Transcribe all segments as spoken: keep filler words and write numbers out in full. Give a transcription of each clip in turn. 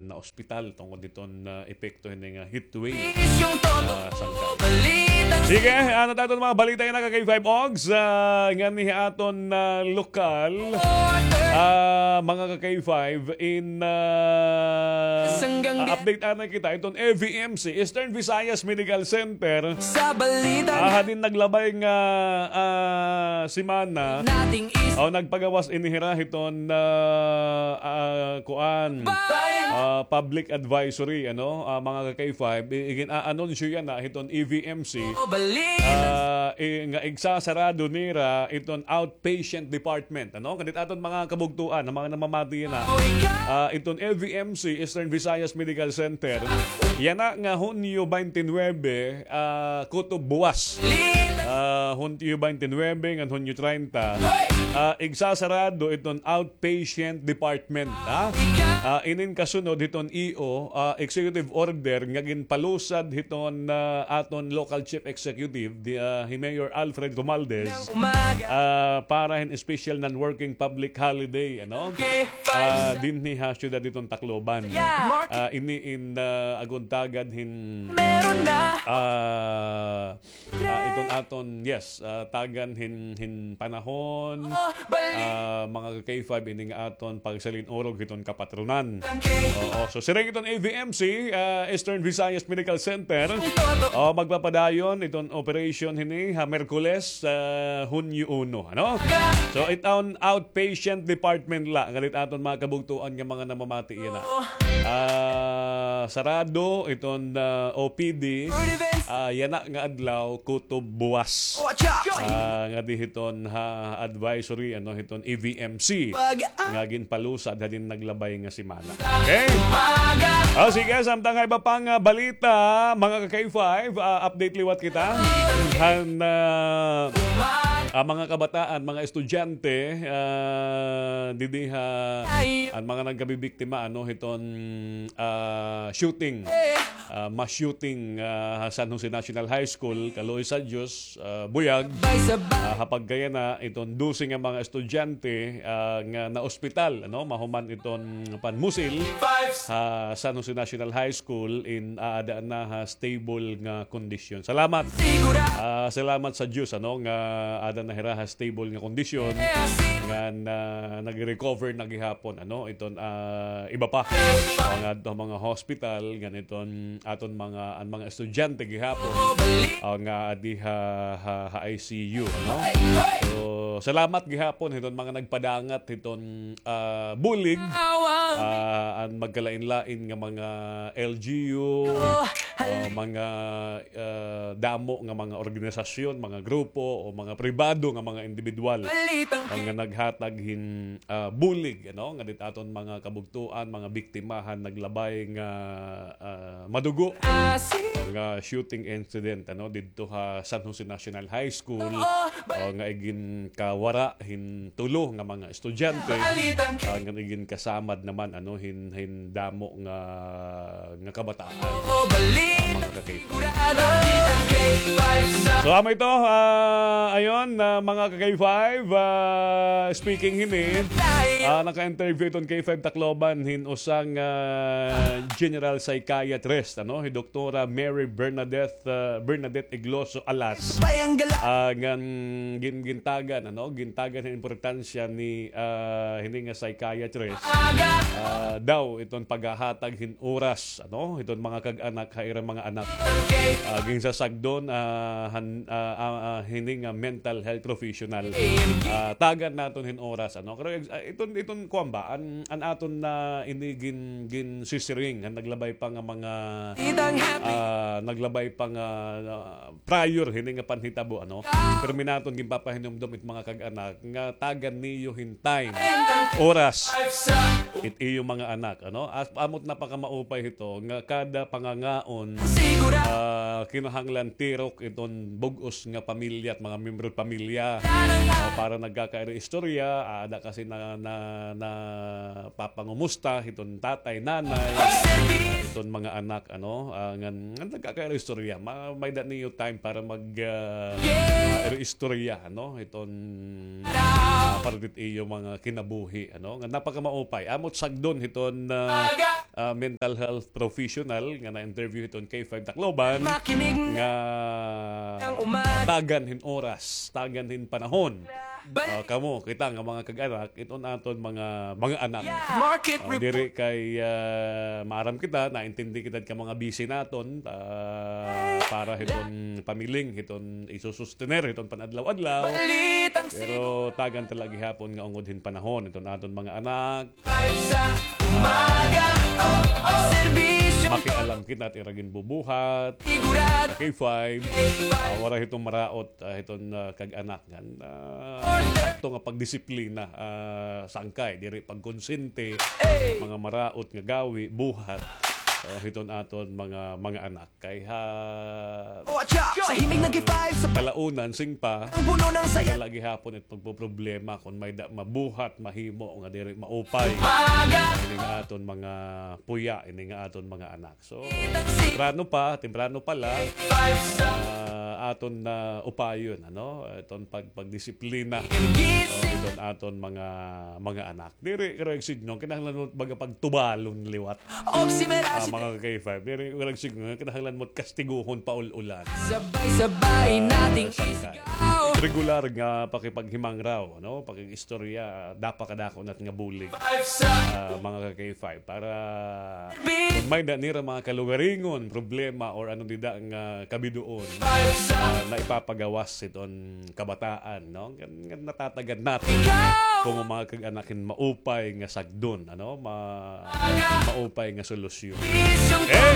naospital tungod hiton, ah, epekto hini nga heat wave. Ah, sangka. Sige, ano ta aton mga balita yana ka K five Ogs? Ah, nganhi ha aton, ah, lokal, ah, mga ka K five in, ah, ah, update anay kita iton E V M C, Eastern Visayas Medical Center. Ah, hadin naglabay nga, ah, semana, o nagpagawas ini hira hiton, ah, ah, kuan, ah, public advisory, ano, ah, mga ka K five, i-, igin-aanunsyo yana hiton E V M C, ah, i-, nga igsasarado nira iton outpatient department, ano, kadit aton mga kabugtuan, an mga namamati yana, ah, iton E V M C, Eastern Visayas Medical Center, yana nga Hunyo twenty-nine, ah, kutob buwas. Ah, Hunyo twenty-nine ngan Hunyo treinta, ah, igsasarado iton outpatient department, ha? Ah, inin kasunod hiton E O, ah, executive order nga ginpalusad hiton, ah, aton local chief executive, di, ah, hi Mayor Alfred Romualdez, ah, para hin special non-working public holiday, ano? Ah, dinhi ha siyudad hiton Tacloban. Ah, ini in, ah, aguntagan hin, ah, ah, iton aton, yes, ah, tagan hin, hin panahon, ah, mga ka K five, ini nga aton pagsalin-urog hiton kapatronan. Oo, so siring iton E V M C, ah, Eastern Visayas Medical Center, o, magpapadayon iton operation hini ha Miyerkules, ah, Hunyo uno, ano? So, iton outpatient department la, ngadit aton mga kabugtuan nga mga namamati yana. Ah, sarado iton, ah, O P D, ah, yana nga adlaw, kutob buwas. Ah, ngadi hiton ha advisory, ano, hiton E V M C nga ginpalusad hadin naglabay nga semana. Okay? Ah, sige, samtang ha iba pang, ah, balita, mga ka K five, ah, update liwat kita. Han, ah, ah, mga kabataan, mga estudyante, ah, didi ha, an mga nagkabibiktima, ano, hiton, ah, shooting, ah, mass shooting, ah, ha San Jose National High School, kaluoy sa Diyos, ah, buyag, ah, ha pagkayana iton dose nga mga estudyante, ah, nga naospital, ano, mahuman iton panmusil ha San Jose National High School in aada na ha stable nga kondisyon. Salamat. Ah, salamat sa Diyos, ano, nga aada na hira ha stable nga kondisyon. Ngan, ah, nag-recover na gihapon, ano, iton, ah, iba pa. Mga, mga hospital, ngan iton aton mga, an mga estudyante gihapon, ah, nga adi ha, ha, ha I C U, no? So, salamat gihapon hiton mga nagpadangat hiton, ah, bulig, ah, an magkalain-lain nga mga L G U, ah, mga, ah, damo nga mga organisasyon, mga grupo, o mga pribado nga mga individual, ah, nga naghatag hin, ah, bulig, ano, nga dit aton mga kabugtuan, mga biktima han naglabay nga, ah, madugo nga shooting incident, ano, didto ha San Jose National High School, ah, nga iginkawara hin tulo nga mga estudyante, ah, nga iginkasamad naman, ano, hin, hin damo nga, nga kabataan, ah, mga ka-K five. So, amo ito, ah, ayon, ah, mga ka-K five, ah, speaking hini, ah, naka-interview iton K five Tacloban hin usa nga general psychiatrist, ano, hi Doktora Mary Bernadette, ah, Bernadette Igloso Alas. Ah, ngan gin-, gintagan, ano, gintagan hin importansya ni, ah, hini nga psychiatrist, ah, daw iton paghahatag hin oras, ano, hiton mga kag-anak ha ira mga anak. Ah, ginsasagdon, ah, han, ah, ah, ah, hini nga mental health professional. Ah, tagan naton hin oras, ano. Pero, ah, iton, iton kuan ba, an, an aton na ini gin-, ginsisiring, han naglabay pa nga mga, ah, naglabay pa nga, ah, prior hini nga panhitabo, ano. Pirmi naton ginpapahinumdom it mga kag-anak nga tagan niyo hin time, oras, it iyo mga anak, ano. As, amo it napakamaupay hito nga kada pangangaon, ah, kinahanglan tirok iton bug-os nga pamilya at mga miyembro pamilya. Ah, para nagkakairi istorya, ah, ada kasi na, na, napapangumusta hiton tatay, nanay, ito mga anak, ano, ah, ngan, ngan nagkakairo istorya. Ma-, may-ada niyo time para mag, ah, ah, iro istorya, ano, iton, ah, para dit iyo mga kinabuhi, ano, nga napakamaupay. Amo it sagdon hiton, ah, ah, mental health professional nga na-interview hiton K five Tacloban nga tagan hin oras, tagan hin panahon. Ah, kamo, kita nga mga kag-anak, iton aton mga, mga anak. Ah, diri kay, ah, maaram kita, naintindi kita ka mga busy naton, ah, para hiton pamiling, hiton isusustener, hiton panadlaw-adlaw. Pero tagan ta la gihapon nga ungod hin panahon, iton aton mga anak. Makialam kita it ira ginbubuhat. K five. Ah, waray hiton maraot, ah, hiton, ah, kag-anak ngan, ah, sakto nga pagdisiplina, ah, sangkay, diri pagkonsente, mga maraot nga gawi, buhat, ah, hiton aton mga, mga anak. Kay ha, sa himig nag-five sa kalaunan, singpa, ang puno ng saya. Wala gihapon it pagpoproblema kon may-ada mabuhat, mahimo nga diri maupay. Ini nga aton mga puya, ini nga aton mga anak. So, temprano pa, temprano pa la, ah, aton na upayon, ano? Iton pag-, pagdisiplina. Oh, iton aton mga, mga anak. Diri, pero signo, kinahanglan mo baga pagtubalon liwat. Ah, mga ka-K five, diri, pero signo, kinahanglan mo kastiguhon paul-ulan. Sabay-sabay nating isigaw. Regular nga pakipaghimangraw, no? Pakig-istorya, dapa kadako nat nga bulig. Ah, mga ka-K five, para kon may-ada nira mga kalugaringon, problema, or ano dida nga kabidoon, ah, na ipapagawas iton kabataan, no? Ngan, ngan natatagad naton kamo mga kag-anak hin maupay nga sagdon, ano? Ma-, maupay nga solusyon. Eh!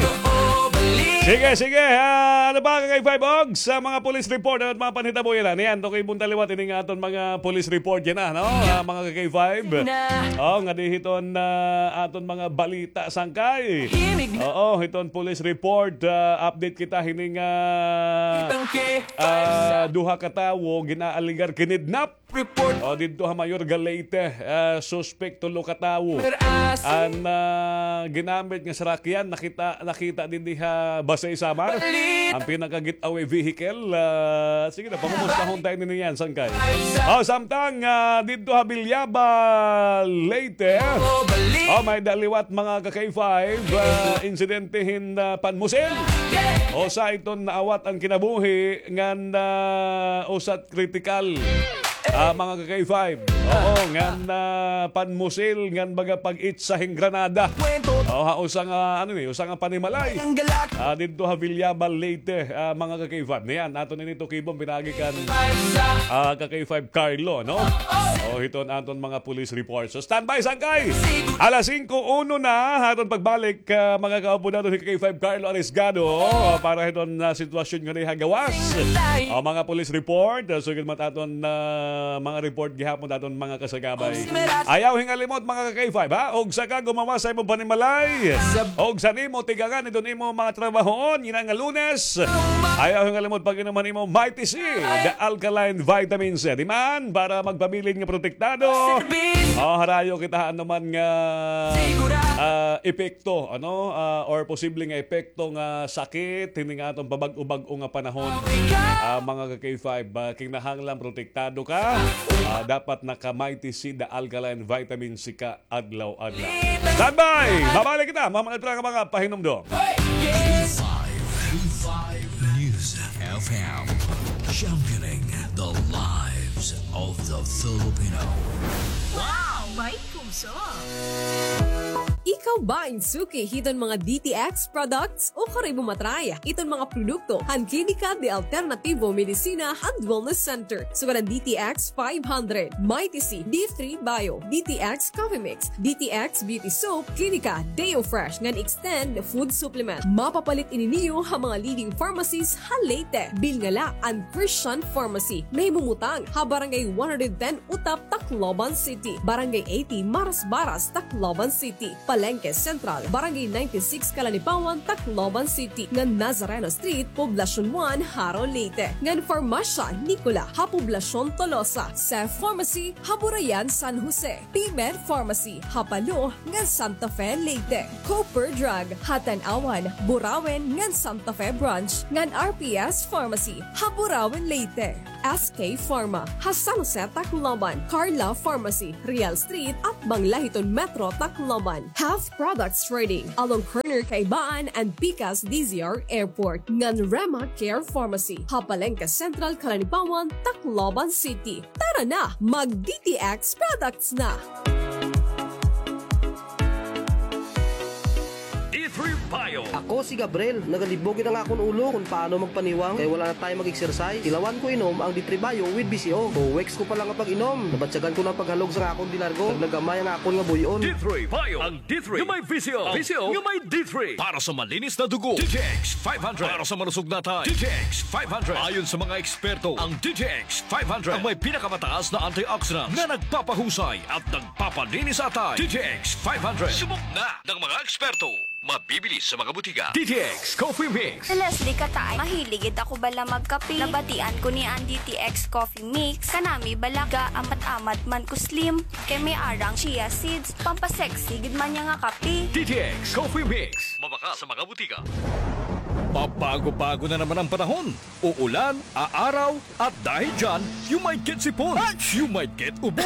Sige, sige. Ah, ano pa, ka-K five, og sa mga police report, ano mga panhitabo yana? Niyan, tukiban ta liwat ini nga aton mga police report yana, no? Ah, mga ka-K five. Oh, nga di hiton, ah, aton mga balita sangkay. Oo, hiton police report, ah, update kita hini nga, ah, duha ka tawo ginaalegar kinidnap. O, didto ha Mayorga, Leyte, ah, suspek, tulo ka tawo. An, ah, ginamit nga sarakyan, nakita, nakita dinhi ha Basey, Samar. An pinaka-getaway vehicle, ah, sige na, pangumustahon ta ini niyan, sangkay. O, samtang, ah, didto ha Villaba, Leyte. O, may-ada liwat, mga ka-K five, ah, insidente hin, ah, panmusil. Usa iton naawat an kinabuhi ngan, ah, usa kritikal. Ah, mga ka-K five. Oo, ngan, ah, panmusil, ngan baga pag-itsa hin granada. O, ha usa nga, ano ni, usa nga panimalay. Ah, didto ha Villaba, Leyte, ah, mga ka-K five. Niyan, aton ini tukibon, pinaagi kan, ah, ka-K five Carlo, no? O, hiton aton mga police report. So, standby, sangkay. Alas singko uno na, aton pagbalik, ah, mga kaupo naton, hi ka-K five Carlo Arisgado, ah, para hiton, ah, sitwasyon nga diha gawas. Ah, mga police report, ah, sugad man aton, ah, mga report gihapon aton mga kasagabay. Ayaw hingalimot, mga ka-K five, ha? Og saka gumawas sa imo panimalay. Og sa nimo tigangan iton imo mga trabahoon, yana nga Lunes. Ayaw hingalimot pag-inom han imo Mighty C, the alkaline vitamin C. Di man, para magpabilin nga protektado. O, harayo kita ha anuman nga, ah, epekto, ano, ah, or posible nga epekto nga sakit, hini nga aton pabag-o-bag-o nga panahon. Ah, mga ka-K five, ah, kinahanglan protektado ka. Ah, dapat naka-Mighty C, the alkaline vitamin C ka adlaw-adlaw. Standby! Mabalik kita, mahuman pa nga mga pahinumdom. K five, K five News F M, championing the lives of the Filipino. Wow! May puso! Ikaw ba in suki hiton mga D T X products? O kari mo ma-try iton mga produkto han Klinika de Alternativo Medicina and Wellness Center. Sugad an D T X five hundred, Mighty C, D three Bio, D T X Coffee Mix, D T X Beauty Soap, Klinika Deo Fresh ngan Extend Food Supplement. Mapapalit ini niyo ha mga leading pharmacies ha Leyte. Bilnga la an Christian Pharmacy. Nahimumutang ha Barangay one hundred ten Utap, Tacloban City. Barangay eighty, Barras Barras, Tacloban City. Palengke Central, Barangay ninety-six Calanipawan, Tacloban City. Ngan Nazareno Street, Poblacion one, Jaro, Leyte. Ngan Farmasya Nicola ha Poblacion Tolosa. Seth Pharmacy ha Burayan, San Jose. P-Med Pharmacy ha Palo ngan Santa Fe, Leyte. Cooper Drug ha Tanauan, Burauen ngan Santa Fe Branch, ngan R P S Pharmacy ha Burauen, Leyte. S K Pharma ha San Jose, Tacloban. Carla Pharmacy, Real Street, atbang la hiton Metro, Tacloban. Health Products Trading, along corner Kaibaan and Pikas D Z R Airport. Ngan Rema Care Pharmacy ha Palengke Central, Calanipawan, Tacloban City. Tara na, mag D T X products na! D three Bio. Ako si Gabriel. Nagalibog gid an akon ulo kon paano magpaniwang kay wala na tayo mag-exercise. Tilawan ko inom ang D three Bio with B C O. Two weeks ko pa lang nga pag-inom, nabatyagan ko na an paghalog sa akon bilargo. Nagnagamay ang akon nga buy-on. D three Bio. Ang D three nga may B C O. B C O nga may D three. Para sa malinis na dugo, D T X five hundred. Para sa malusog na atay, D T X five hundred. Ayon sa mga eksperto, ang D T X five hundred ang may pinakamataas na antioxidants na nagpapahusay at nagpapalinis sa atay. D T X five hundred. Subok na ng mga eksperto. Mabibili sa mga butika. D T X Coffee Mix. Si Leslie Kataay, mahilig gid ako bala magkape. Nabatian ko niya an D T X Coffee Mix. Kanami bala, gaamat-amat man ko slim. Kay may arang chia seeds, pampasexy gid man niya nga kape. D T X Coffee Mix. Mabakal sa mga butika. Pabago-bago na naman ang panahon. Uulan, aaraw, at dahil dyan, you might get sipon. You might get ubo.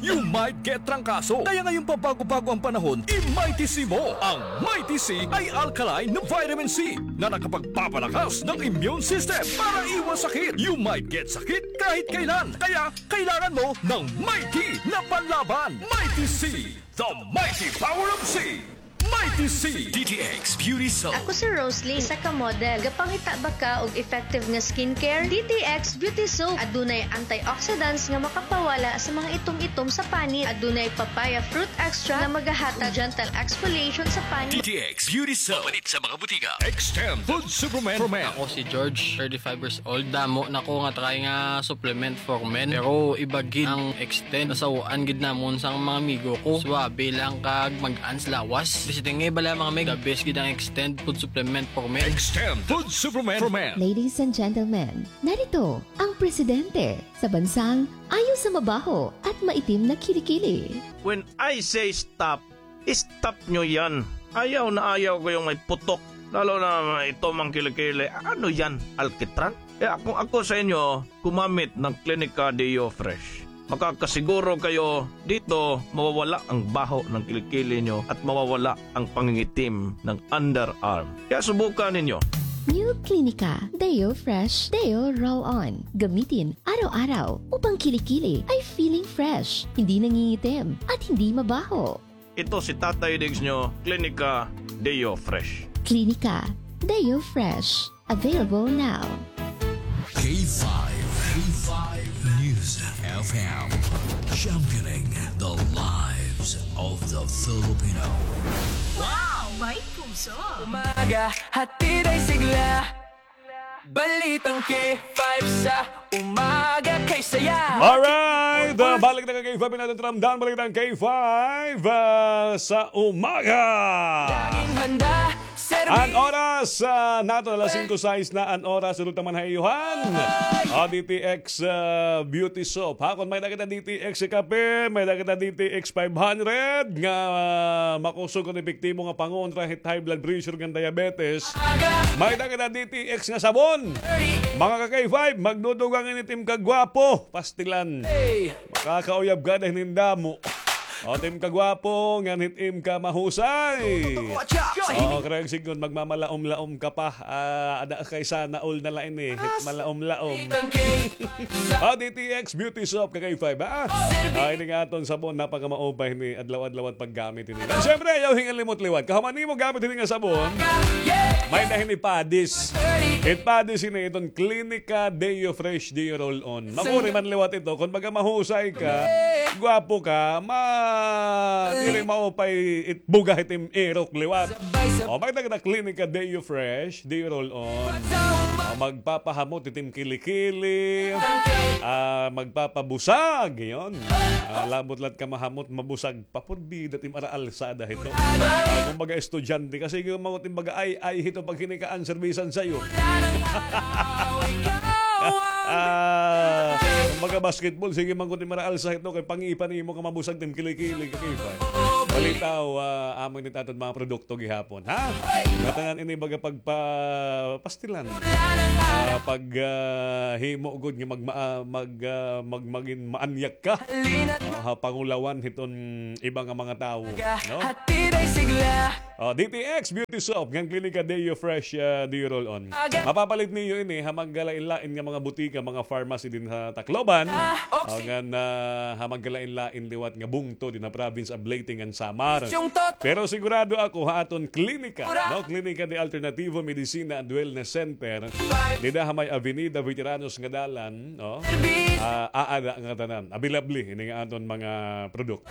You might get trangkaso. Kaya ngayong pabago-bago ang panahon, i-Mighty C mo. Ang Mighty C ay alkaline na vitamin C na nakapagpapalakas ng immune system para iwas sakit. You might get sakit kahit kailan. Kaya kailangan mo ng Mighty na panlaban. Mighty C, the mighty power of C. Mighty C. D T X Beauty Soap. Ako si Rosalie, isa ka model. Gapangita ba ka og effective nga skincare? D T X Beauty Soap. Adunay antioxidants nga makapawala sa mga itom-itom sa panit. Adunay papaya fruit extract nga magahatag gentle exfoliation sa panit. D T X Beauty Soap. Mapalit sa mga butika. Extend Food Supplement for Men. Ako si George, thirty-five years old. Damo na ko nga try nga supplement for men. Pero iba gid ang extend. Nasaw-an gid namon sa mga amigo ko. Suabe lang kag mag-ans lawas. Basta tingay bala mga meg, the best gid ang extend food supplement for men. Extend Food Supplement for Men. Ladies and gentlemen, narito ang presidente sa bansang ayaw sa mabaho at maitim na kilikili. When I say stop, stop nyo yan. Ayaw na ayaw ko yung may putok. Lalo na ito mang kilikili. Ano yan? Alkitran? Kaya kung ako sa inyo, gumamit ng Clinica Deo Fresh. Makakasiguro kayo dito mawawala ang baho ng kilikili nyo at mawawala ang pangingitim ng underarm. Kaya subukan ninyo. New Clinica Deo Fresh Deo Roll On. Gamitin araw-araw upang kilikili ay feeling fresh, hindi nangingitim, at hindi mabaho. Ito si Tatay Diggs nyo, Clinica Deo Fresh. Clinica Deo Fresh. Available now. K five, K five News F M. Championing the lives of the Filipino. Wow! May puso! Umaga, hatid ay sigla. Balitang K five sa umaga kay saya. Alright, ah, balik na ka K five, natin ramdam, balitang K five, ah, sa umaga. Laging handa, serbi. An oras, ah, naton, alas singko sais na an oras, udto man ha iyo han. O, D T X, ah, Beauty Soap. Ha, kon may-ada kita D T X kape, may-ada kita D T X five hundred, nga, ah, makusog kon epektibo nga pangontra hit high blood pressure ngan diabetes. May-ada kita D T X nga sabon. Mga ka-K five, magdudugang ini it im kagwapo. Pastilan. Makakauyab ka na hin damo. O, it im kagwapo, ngan hit im kamahusay. Oo, correct, sigon, magmamalaom-laom ka pa. Ah, ada kay sana all na la ini. Hit malaom-laom. O, D T X Beauty Soap, ka-K five, ha? Ah, ini nga aton sabon, napakamaupay ini, adlaw-adlaw it paggamit ini. Siyempre, ayaw hingalimot liwat. Kahuman nimo gamit ini nga sabon, may-ada hini padis. It padis ini iton Clinica Deo Fresh Deo Roll On. Makuri man liwat ito. Kon baga mahusay ka, gwapo ka, ma-, diri maupay it buga hit im irok liwat. O, may-ada kita Clinica Deo Fresh Deo Roll On. O, magpapahamot itim kilikili, ah, magpapabusag, iyon. Ah, labot lat ka mahamot, mabusag, papudbi, datim ara alsada hito. Ah, kumbaga, estudyante, kasi yung mga timbaga, ay, ay, hito, pag hinikaan, serbisan sa'yo. Ah, kumbaga, basketball, sige, mangkot ni Mara Alsa hito, kay pangipan mo ka mabusag, tim kilikili, kakaipan. Balitaw, ah, amo ini aton mga produkto gihapon, ha? Ngatanan ini baga pagpa-, pastilan. Ah, pag, ah, himo gud nga magma-, ah, mag, ah, mag-, magin maanyak ka. Ah, ha pangulawan hiton iba nga mga tawo, no? Oh, D T X Beauty Soap, ngan Klinika Deo Fresh, ah, Deo Roll On. Mapapalit niyo ini ha magkalain-lain nga mga butika, mga pharmacy din ha Tacloban. O ngan, ah, ha magkalain-lain liwat nga bungto din ha province of Leyte ngan Samar. Pero sigurado ako ha aton klinika, no? Klinika de Alternativo Medicina and Wellness Center. Dida ha may Avenida Veteranos nga dalan, no? Ah, aada nga tanan. Available ini nga aton mga produkto.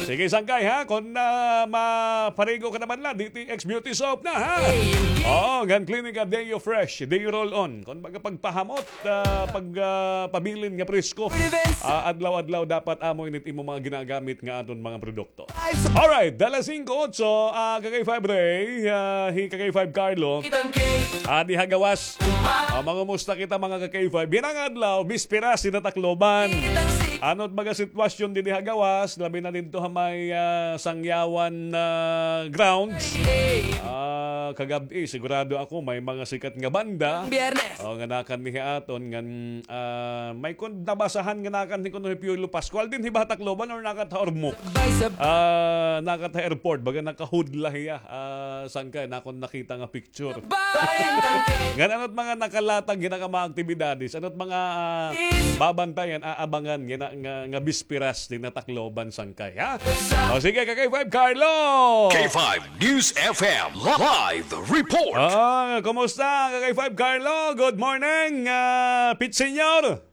Sige, sangkay, ha? Kon, ah, maparigo ka naman la, D T X Beauty Soap na, ha? Oo, ngan Klinika Deo Fresh, Deo Roll On. Kon baga pagpahamot, ah, pag, ah, pabilin nga presko. Ah, adlaw-adlaw dapat amo ini it imo mga ginagamit nga aton mga produkto. Alright, alas singko otso, ah, Kakay Five Ray, ah, hi Kakay Five Carlo. Ah, diha gawas. Ah, mangumusta kita, mga ka-K five. Dinhi nga adlaw, bisperas dinhi ha Tacloban. Ano it baga sitwasyon dinhi ha gawas, labi na didto ha may, ah, Sangyawan, ah, grounds? Ah, kagab-i, sigurado ako may mga sikat nga banda. O, nga nakanhi aton, ngan, ah, may kon nabasahan nga nakanhi kuno hi Piolo Pascual dinhi ba ha Tacloban or nakat ha Ormoc? Ah, nakat ha airport, baga nakahudla hiya. Ah, sangkay, nakon nakita nga picture. Ngan ano it mga nakalatag hini nga mga aktibidades, ano it mga, ah, babantayan, aabangan hini nga, nga bisperas dinhi ha Tacloban, sangkay, ha? O sige, ka-K five Carlo! K five News F M live report. Ah, kumusta, ka-K five Carlo? Good morning, ah, Pit Senior.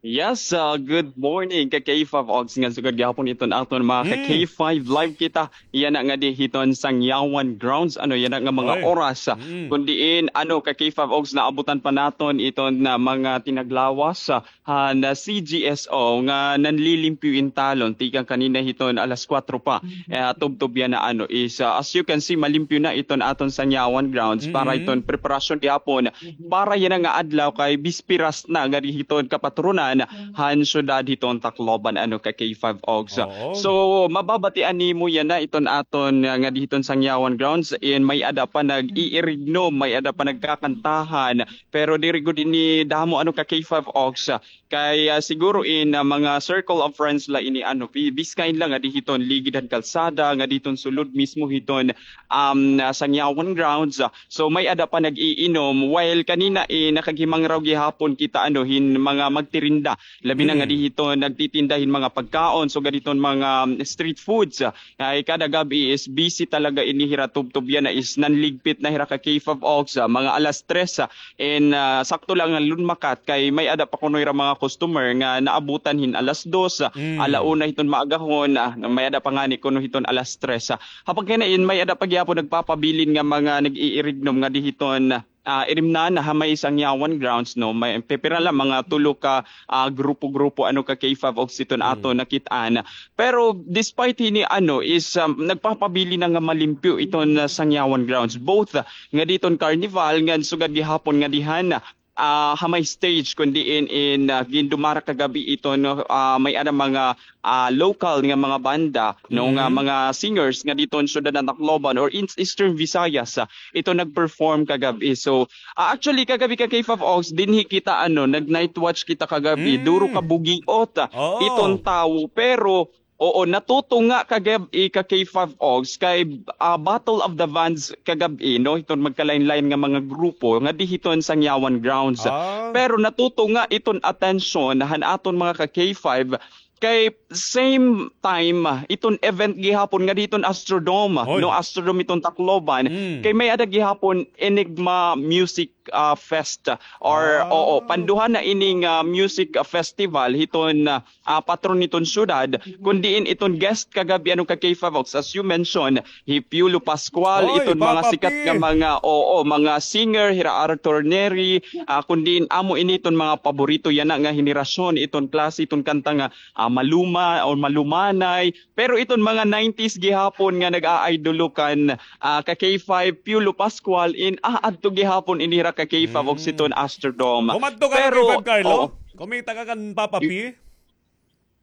Yes, ah, good morning, ka-K five Ogs, ngan sugad gihapon iton aton mga ka-K five, live kita yana ngadi hiton Sangyawan grounds, ano, yana nga mga oras, ah, kun diin, ano, ka-K five Ogs, naabutan pa naton iton, ah, mga tinaglawas, ah, han, ah, C G S O nga nanlilimpyo in talon tikang kanina hiton alas kuwatro pa. Eh, tubtob yana, ano, is, ah, as you can see, malimpyo na iton aton Sangyawan grounds para iton preparasyon gihapon para yana nga adlaw kay bisperas na ngadi hiton kapatronan han syudad hiton Tacloban, ano, ka-K five Ogs. So, mababatian nimo yana iton aton, ah, ngadi hiton Sangyawan grounds, in may-ada pa nag-iirignom, may-ada pa nagkakantahan, pero diri gud ini damo, ano, ka-K five Ogs. Kay, ah, siguro in, ah, mga circle of friends la ini, ano, bi-, biskain la ngadi hiton ligid han kalsada, ngadi hiton sulod mismo hiton, um, ah, Sangyawan grounds. So, may-ada pa nag-iinom. While kanina, eh, nakaghimangraw gihapon kita, ano, hin mga magtirinda. Labi na ngadi hiton nagtitinda hin mga pagkaon. So, ngadi hiton mga, um, street foods. Ay, kada gab-i is busy talaga ini hira, tubtob yana is nanligpit na hira, ka-K five Ogs, ah, mga alas tres, ah, and, ah, sakto la nga lunmakat kay may-ada pa kuno hira mga customer nga naabutan hin alas dos, ah, ala una hiton maagahon, ah, may-ada pa ngani kuno hiton alas tres, ah. Ha pagkinain, may-ada pa gihapon nagpapabilin nga mga nag-iirignom ngadi hiton, ah, irimnan ha may Sangyawan grounds, no? May pipira la, mga tulo ka, ah, grupo-grupo, ano, ka-K five Ogs, iton aton nakit-an. Pero despite hini, ano, is, um, nagpapabilin na nga malimpyo iton, ah, Sangyawan grounds. Both, ah, ngadi hiton carnival, ngan sugad gihapon ngadi han, ah, ha may stage, kun diin in, ah, gindumara kagab-i iton, no, ah, may-ada mga, ah, local nga mga banda, no, nga mga singers ngadi hiton syudad han Tacloban or in Eastern Visayas, ah, iton nag-perform kagab-i. So, ah, actually, kagab-i, ka-K five Ogs, dinhi kita, ano, nag-night watch kita kagab-i. Duro ka bugiot, ah, iton tawo, pero, oo, natutunga kagab-i, ka-K five Ogs, kay, ah, Battle of the Bands kagab-i, no? Iton magkalain-lain nga mga grupo ngadi hiton Sangyawan grounds. Pero natutunga iton atensyon han aton mga ka-K five, kay same time, ah, iton event gihapon ngadi hiton Astrodome, no, Astrodome iton Tacloban, kay may-ada gihapon Enigma Music ah, Fest, or, oo, panduha na ining, ah, music, ah, festival hiton, ah, ah, patron hiton syudad, kun diin iton guest kagab-i, ano, ka K five Ox, as you mentioned, hi Piolo Pascual, iton mga sikat nga mga, oo, mga singer, hira Arthur Neri, ah, kun diin amo ini iton mga paborito yana nga henerasyon, iton klase, iton kanta nga, ah, maluma o malumanay. Pero iton mga nineties gihapon nga nag-a-idolo kan, ah, ka K five, Piolo Pascual, in, ah, adto gihapon ini hira ka K five Ox hiton Astrodome. Kumadto ka ka K five, Carlo? Kumita ka kan Papa P?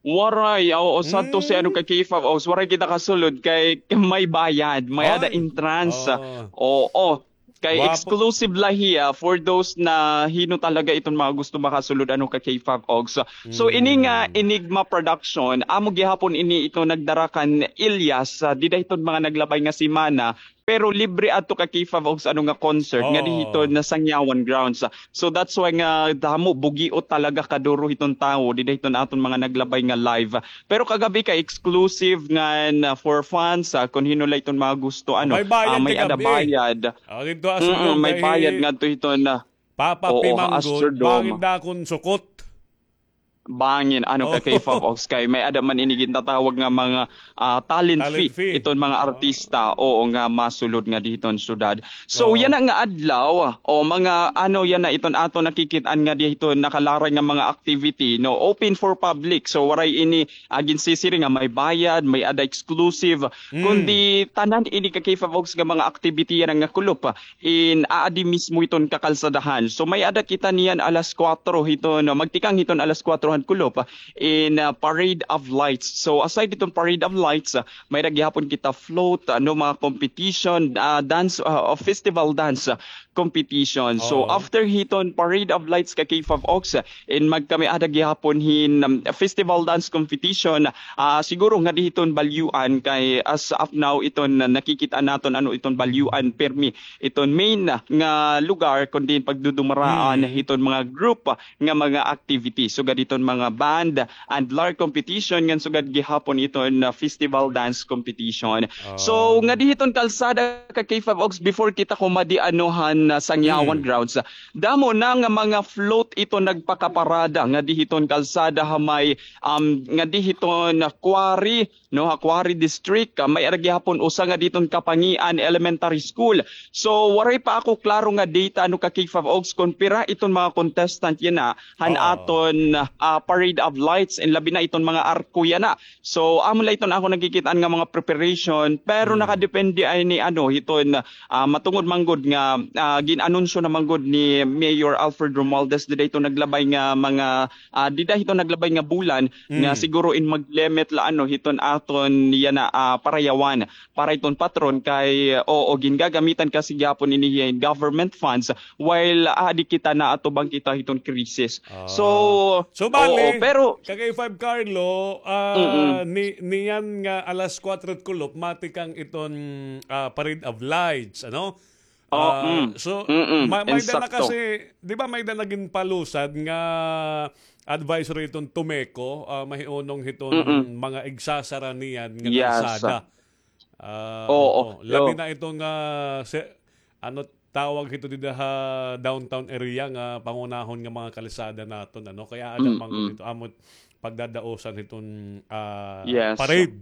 Waray, oo, sadto si, ano, ka K five Ox, waray kita kasulod kay may bayad, may-ada entrance. Oo. Kay exclusive la hiya for those na hin-o talaga iton mga gusto makasulod, ano, ka K five Ox. So, ini nga Enigma Production, amo gihapon ini ito nagdara kan Ilyas, ah, dida hiton mga naglabay nga semana. Pero libre adto ka K five Ox, ano, nga concert ngadi hiton Sangyawan Grounds. So that's why nga damo, bugiot talaga kaduro hiton tawo dida hiton aton mga naglabay nga live. Pero kagab-i kay exclusive ngan, ah, for fans, ah, kun hin-o la iton mga gusto, ano, may-ada bayad. May bayad ngadto hiton, ah, Papa P manggod, bangin dakon sukot. Bangin, ano, ka K five Ox, kay may-ada man ini gintatawag nga mga, ah, talent fee iton mga artista, oo, nga masulod ngadi hiton syudad. So yana nga adlaw, o mga, ano, yana iton aton nakikit-an ngadi hiton nakalaray nga mga activity, no, open for public. So waray ini, ah, ginsisiring nga may bayad, may-ada exclusive, kundi tanan ini ka K five Ox nga mga activity yana nga kulop in aadi mismo hiton kakalsadahan. So may-ada kita niyan alas kuwatro hiton, magtikang hiton alas kuwatro han kulop in, ah, Parade of Lights. So aside hiton Parade of Lights, ah, may-ada gihapon kita float, ano, mga competition, ah, dance, ah, festival dance, ah, competition. So after hiton Parade of Lights ka K five Ox, in magkamay-ada gihapon hin, um, festival dance competition, ah, siguro ngadi hiton Balyuan kay as of now iton nakikit-an naton, ano, iton Balyuan pirmi iton main nga lugar kun diin pagdudumaraan hiton mga group nga mga activity. Sugad hiton mga band and lark competition ngan sugad gihapon iton, ah, festival dance competition. So ngadi hiton kalsada ka K five Ox, before kita kumadi, ano, han, ah, Sangyawan Grounds, damo na nga mga float iton nagpakaparada ngadi hiton kalsada ha may, um, ngadi hiton, ah, Quarry, no, ha Quarry District, ah, may-ada gihapon usa ngadi hiton Kapangian Elementary School. So waray pa ako klaro nga data, ano, ka K five Ox, kun pira iton mga contestant yana han aton, ah, Parade of Lights, and labi na iton mga arko yana. So amo la iton ako nakikit-an nga mga preparation, pero nakadepende ini, ano, hiton, ah, matungod man gud nga, ah, gin-anunsyo na man gud ni Mayor Alfred Romualdez dida hiton naglabay nga mga, ah, dida hiton naglabay nga bulan nga siguro in mag-limit la, ano, hiton aton yana, ah, parayawan para iton patron kay, oo, gingagamitan kasi gihapon ini hin government funds while adi kita naatubang kita hiton krisis. So, so bali, oo, pero ka K five Carlo, ah, ni, niyan nga alas kuwatro kulop, matikang iton, ah, Parade of Lights, ano? Ah, so, ma-, may-ada na kasi, di ba, may-ada na ginpalusad nga advisory iton TUMECO, ah, mahiunong hiton mga igsasara niyan nga kalsada. Ah, oo. Labi na iton nga, ano, tawag hito dida ha downtown area nga pangunahon nga mga kalsada naton, ano? Kay aada man gud hito amo pagdadaosan hiton, ah, parade.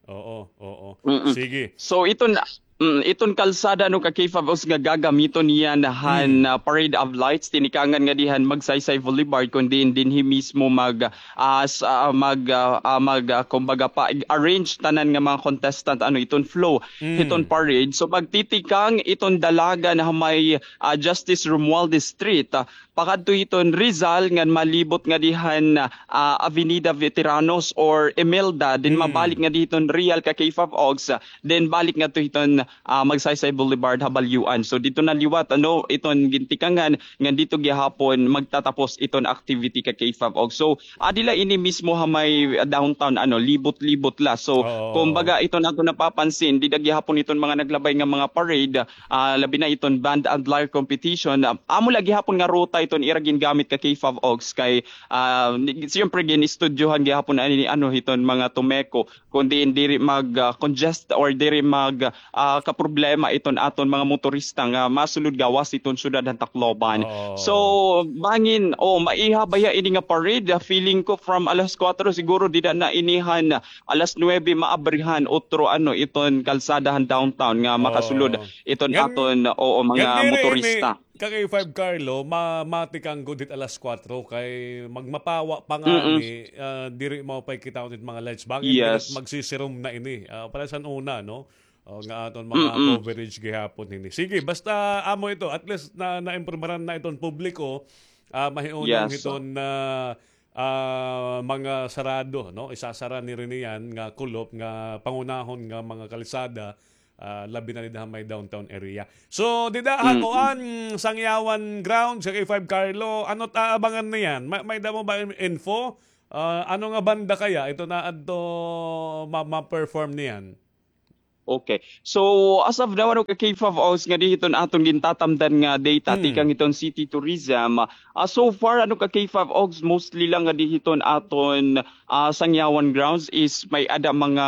Oo, oo. Sige. So, iton, mm, iton kalsada, ano, ka K five Ox, nga gagamiton niyan han, ah, Parade of Lights, tinikangan ngadi han Magsaysay Boulevard, kun diin dinhi mismo mag, ah, s-, ah, mag, ah, ah, mag, ah, kumbaga, pa-arrange tanan nga mga contestant, ano, iton flow hiton parade. So magtitikang iton dalagan ha may, ah, Justice Romualdez Street, ah, pakadto hiton Rizal ngan malibot ngadi han, ah, Avenida Veteranos or Imelda, then mabalik ngadi hiton Real ka K five Ox, ah, then balik ngadto hiton, ah, Magsaysay Boulevard ha Balyuan. So didto na liwat, ano, iton gintikangan ngan didto gihapon magtatapos iton activity ka K five Ox. So adi la ini mismo ha may downtown, ano, libot-libot la. So kumbaga, iton aton napapansin, dida gihapon iton mga naglabay nga mga parade, ah, labi na iton band and lyre competition. Ah, amo la gihapon nga ruta iton ira gingamit ka K five Ox kay, ah, ni-, siyempre gin-istudyohan gihapon ani, ano, hiton mga TUMECO kun diin diri mag, ah, congest or diri mag, ah, kaproblema iton aton mga motorista nga masulod gawas iton syudad han Tacloban. Oo. So, bangin, oh, maiha baya ini nga parade? Ah, feeling ko from alas kuwatro siguro dida na ini han alas nuwebe maabrihan otro, ano, iton kalsada han downtown nga makasulod iton aton, oo, mga motorista. Ka K five Carlo, ma-, matikang gud hit alas kuwatro kay magmapawa pa ngani, ah, diri maupay kitaon it mga lights. Bangin diri magsisirom na ini. Ah, para san una, no? O, nga aton mga coverage gihapon hini. Sige, basta amo ito, at least na, naimpormaran na iton publiko, ah, mahiunong hiton, ah, ah, mga sarado, no? Isasara ni rin yan nga kulop nga pangunahon nga mga kalsada, ah, labi na dida ha may downtown area. So, dida ha kuan, Sangyawan Grounds, K five Carlo, ano ta abangan niyan? May, may damo ba in-, info? Ah, ano nga banda kaya ito na adto ma-, ma-perform niyan? Okay. So, as of now, ano, ka K five Ogs, nga di hiton aton gintatamdan nga data, tikang hiton city tourism, ah, so far, ano, ka K five Ogs, mostly lang nga di hiton aton, ah, Sangyawan Grounds is may ada mga,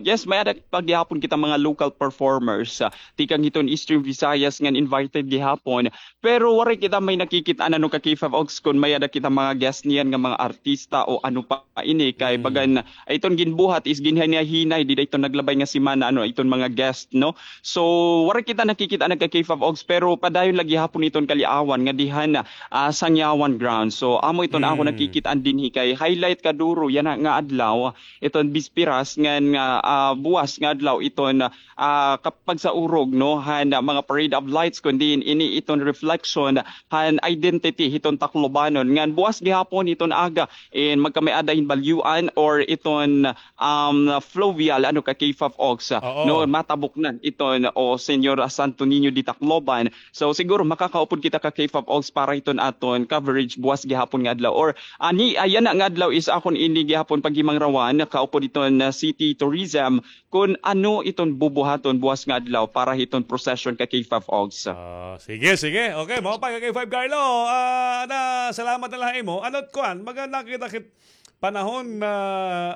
yes, may ada pa gihapon kita mga local performers, ah, tikang hiton Eastern Visayas ngan invited gihapon. Pero waray kita may nakikit-an, ano, ka K five Ogs, kun may ada kita mga guest niyan nga mga artista o ano pa ini, kay bagan, iton ginbuhat is ginhinay-hinay dida iton naglabay nga semana, ano, iton mga guest, no? So, waray kita nakikit-an, ka K five Ogs, pero padayon lagi hapon iton kaliawan nga dihan, ah, Sangyawan Grounds. So, amo iton ako nakikit-an dinhi kay highlight kaduro yana nga adlaw, iton bispiras ngan nga, ah, buwas nga adlaw iton, ah, kapagsaurog, no, han, ah, mga parade of lights, kundi ini iton reflection han identity hiton Taclobanon. Ngan buwas gihapon iton aga, in magkamay-ada hin balyuan or iton, um, fluvial, ano, ka K five Ogs, ah, no, matabok na iton, o Señor Santo Niño de Tacloban. So, siguro makakaupod kita, ka K five Ogs, para iton aton coverage buwas gihapon nga adlaw. Or, ani, ayan na nga adlaw is akon ini gihapon paghimangrawan, kaupod iton, ah, city tourism, kun ano iton bubuhaton buwas nga adlaw para hiton procession, ka K five Ogs. Ah, sige, sige. Okay, mao pa, ka K five Carlo. Ah, na, salamat na lang imo. Ano, kuan, baga nakita kit panahon na,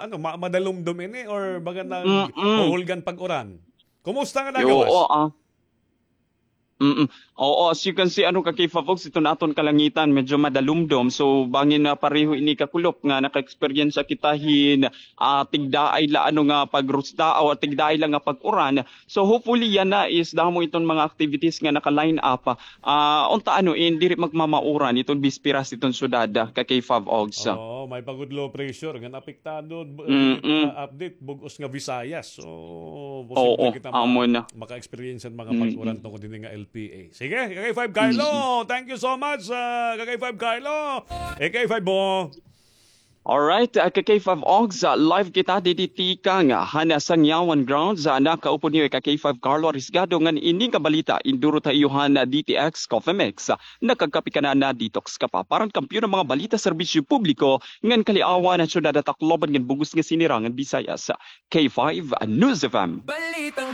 ano, ma-, madalumdom ini or baga na huhulgan pag-uran? Kumusta nga dagawas? Oo, ah. Mm. Oo, as you can see, ano, ka K five Ogs, iton aton kalangitan, medyo madalumdom. So, bangin na pareho ini kakulop nga naka-experience kita hin, ah, tigdaay la, ano, nga pagrusda o tigdaay la nga pag-uran. So, hopefully, yana is damo iton mga activities nga naka-line up. Ah, unta, ano, in diri magmamauran iton bisperas iton syudad, ah, ka K five Ogs. Oo, may pa gud low pressure nga apektado, b-, ah, update, bug-os nga Visayas. So, posible kita ma-, maka-experience hin mga pag-uran tungod hini nga L P A. Sige, ka K five Carlo, thank you so much, ah, ka K five Carlo. Eh, ka K five mo. Alright, ah, ka K five Ogs, ah, live kita didi tikang, ah, han Sangyawan Grounds, ah, nakaupod niyo ka K five Carlo Arisgado ngan ini nga balita indurot ha iyo han D T X Coffee Mix. Nakagkape ka na, na-detox ka pa. Para han kampiyon nga mga balita, serbisyo publiko, ngan kaliawan han syudad han Tacloban ngan bug-os nga sinirangan Visayas. K five News F M. Balitang